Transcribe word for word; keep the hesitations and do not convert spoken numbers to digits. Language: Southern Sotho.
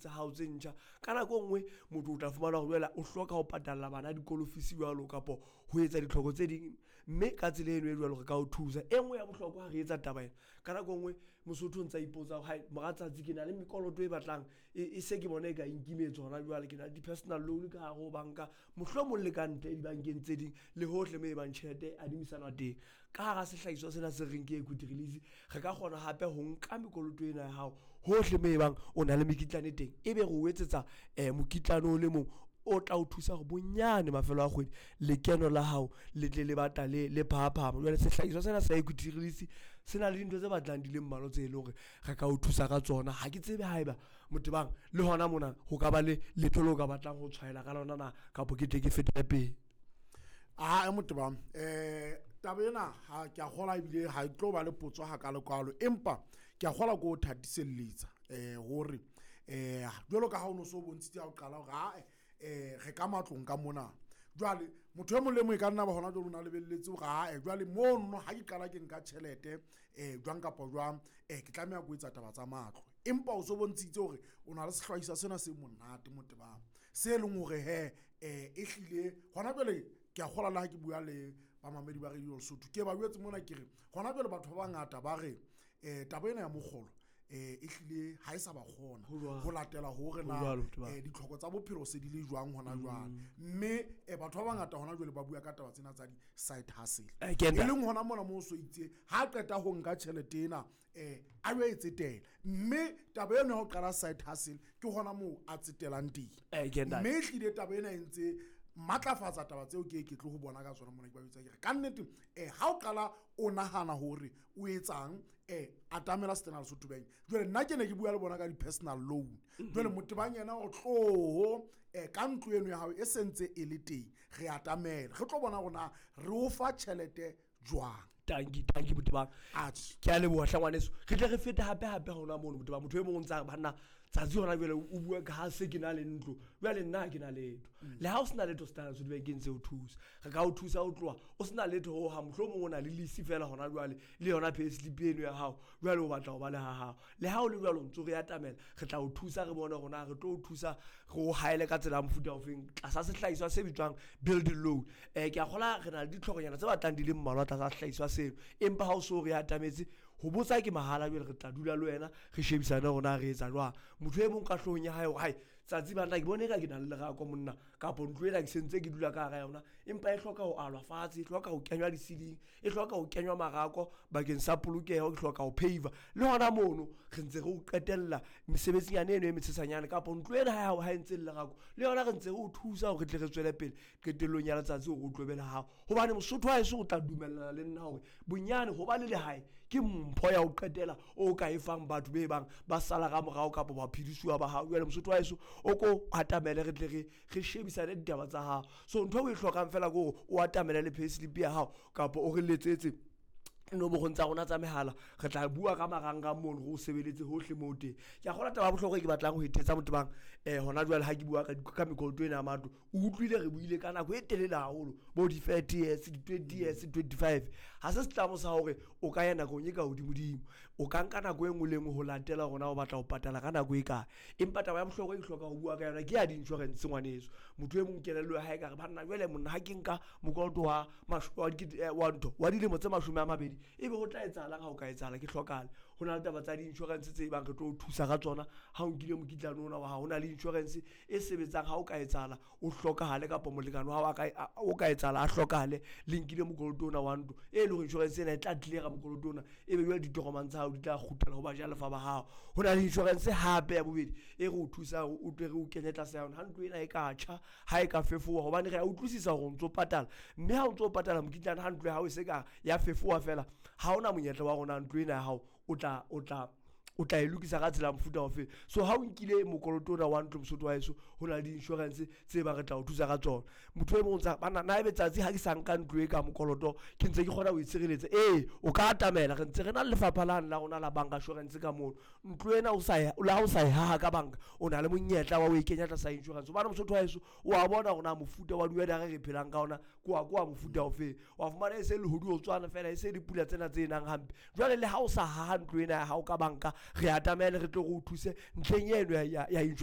tsa hao tse ntjha. Ka nako e nngwe motho o tla fumana hore jwale o hloka ho patalla bana dikolo fees jwalo kapo ho etsa ditlhoko tse ding, mme ka tsela eno e jwalo re ka o thusa. E nngwe ya bohlokwa ha re etsa taba ena, ka nako e nngwe Mosotho o ntsa ipotsa hore hai mora tsatsi ke na le mekoloto e batlang e se ke bona e ka nkimetse hona jwale. Ke na le di-personal loan ka hare ho banka, mohlomong le ka ntle dibankeng tse ding le hohle moo e bang tjhelete e adimisanwa teng. Ka hara sehlahiswa sena se reng ke equity release, re ka kgona hape ho nka mekoloto ena ya hao hohle moo e bang o na le mekitlane teng, ebe re o etsetsa mokitlane o le mong o tla o thusa hore bonyane mafelo a kgwedi lekeno la hao le tle le batla le le phahaphama. Jwale sehlahiswa sena sa equity release se na le dintho tse batlang di le mmalwa tse leng hore re ka o thusa ka tsona. Ha ke tsebe haeba Motebang le hona mona ho ka ba le letho leo ka batlang ho tshwaela ka lona na, kapa ke tle ke fetele pele. Ae Motebang, eh taba ena ha ke a kgola ebile ha e tlo ba le potso hakalo-kalo, empa ke a kgola ko o thatiselletsa eh hore eh jwalo ka ha o no so bontshitse ha o qala hore ae eh re ka matlong ka mona. Jwale motho e mong le mong e ka nna ba hona jwale o na lebelletse hore ae jwale mono ha ke qala ke nka tjhelete eh jwang kapa jwang eh ke tlameha ko etsa taba tsa matlo. Empa o so bontshitse hore o na le sehlahiswa sena se monate Motebang, se leng hore he eh e hlile hona jwale ke a kgola le ha ke bua le bamamedi ba Radio Lesotho, ke ba jwetse mona ke re hona jwale batho ba bangata ba re eh taba ena ya mokgolo eh e hlile ha e sa ba kgona ho latela hore na eh ditlhoko tsa bophelo se di le jwang hona jwale. Mme eh batho ba bangata hona jwale ba bua ka taba tsena tsa di side hustle, e leng hona mona mo so itse ha qeta ho nka tjhelete ena eh a yo e tsetela, mme taba eno ya ho qala side hustle ke hona moo a tsetelang teng. Mme e hlile taba ena e ntse matlafatsa taba tseo ke ke tlo ho bona ka tsona mona ke ba bitsa ke re ka nnete eh ha o qala o nahana hore o etsang eh atamela Standard Lesotho Bank. Jwale nna ke ne ke bua le bona ka di personal loan. Jwale Motebang yena o tloho eh ka ntlo eno ya hao e sentse e le teng, re atamela re tlo bona rona re o fa tjhelete jwang. Tanki tanki Motebang, ke a leboha hle ngwaneso. Re tle re fete hape hape hona mono Motebang. Motho e mong o ntsa re banna tsatsi hona jwale o bua ka ha se ke na le ntlo, jwale nna ha ke na letho. Le ha o sena letho Standard Lesotho Bank e ntse o thusa, re ka o thusa ho tloha o sena letho ho hang, mohlomong o na le lease feela hona jwale le yona payslip eno ya hao, jwale o batla ho ba le ha hao. Le ha o le jwalo ntso re atamela, re tla o thusa re bone hore na re tlo o thusa re o haele ka tsela ya mofuta ofeng tlasa sehlahiswa se bitswang building loan. Eh ke a kgola re na le ditlhokonyana tse batlang di le mmalwa tlasa sehlahiswa seno, empa ha o so re atametse ho botsa ke mahala. Jwale re tla dula le wena re shebisane hore na re etsa jwang. Motho e mong ka hloohong ya hae hore hai tsatsi banna ke bone eka ke na le lerako monna, kapo ntlo ena ke sentse ke dula ka hara yona, empa e hloka ho alwa fatshe, e hloka ho kenywa di-ceiling, e hloka ho kenywa marako bakeng sa polokeho, ke hloka ho pave. Le hona mono re ntse re o qetella mesebetsinyana eno e metshesanyane, kapo ntlo ena ha ha e ntse le lerako le yona re ntse re o thusa hore re tle re tswele pele qetellong ya letsatsi hore o tlo be le hao. Hobane Mosotho wa heso o tla dumellana le nna hore bonyane ho ba le lehae ke mpho ya ho qetela o ka e fang batho be bang ba sala ka morao kapa baphedisuwa ba hao. Jwale Mosotho wa heso o ko atamele re tle re re shebisane ditaba tsa hao. So ntho e o e hlokang fela ke hore o atamele le payslip ya hao kapa o re letsetse nomorong tsa rona tsa mehala, re tla bua ka marangrang mono re o sebeletse hohle moo teng. Ke a kgolwa taba ya bohlokwa e ke batlang ho e thetsa Motebang eh hona jwale ha ke bua ka ka mekoloto ena ya matlo, o utlwile re buile ka nako e telele haholo bo di-thirty years, di-twenty years, twenty-five. Ha se setlamo sa hore o ka ya nakong e ka hodimodimo, o ka nka nako e nngwe le nngwe ho latela hore na o batla ho patala ka nako e kae. Empa taba ya bohlokwa e ke hlokang ho bua ka yona ke ya di-insurance ngwaneso. Motho e mong kelello ya hae ka re banna jwale monna ha ke nka mokoloto wa wa wa ntho wa dilemo tse mashome a mabedi, ebe ho tla etsahalang ha o ka etsahala ke hlokahale. Ho na le taba tsa di-insurance tse bang re tlo o thusa ka tsona ha o nkile mokitlane ona wa hao. Ho na le insurance e sebetsang ha o ka etsahala o hlokahale kapa molekane wa hao o ka etsahala a hlokahale le nkile mokoloto ona wa ntlo, e leng hore insurance ena e tla clear-a mokoloto ona, ebe jwale ditokomane tsa hao di tla kgutlela ho bajalefa ba hao. Ho na le insurance hape ya bobedi e re o thusang hore o tle re o kenye tlasa yona ha ntlo ena e ka tjha, ha e ka fefowa, hobane re a utlwisisa hore o ntso patala, mme ha o ntso patala mokitlane ha ntlo ya hao e se ka ya fefowa fela, ha ona monyetla wa rona ntlo ena ya hao o tla o tla o tla e lokisa ka tsela mofuta ofe. So ha o nkile mokoloto ona wa ntlo Mosotho wa heso, ho na le di-insurance tse bang re tla o thusa ka tsona. Motho e mong o ntsa banna na ebe tsatsi ha ke sa nka ntlo e ka mokoloto ke ntse ke kgona ho e tshireletsa. Ee, o ka atamela, re ntse re na le lefapha lane la rona la bank assurance ka mono. Ntlo ena o sa le ha o sa e haha ka banka, o na le monyetla wa ho e kenya tlasa insurance. Hobane Mosotho wa heso o a bona hore na mofuta wa di-weather re phelang ka ona ke wa ke wa mofuta ofeng. Wa fumana e se lehodimo tswana fela, e se dipula tsena tse nang hampe. Jwale le ha o sa haha ntlo ena ya hao ka banka, re atamele re tlo re o thuse ntlheng eno ya ya insurance.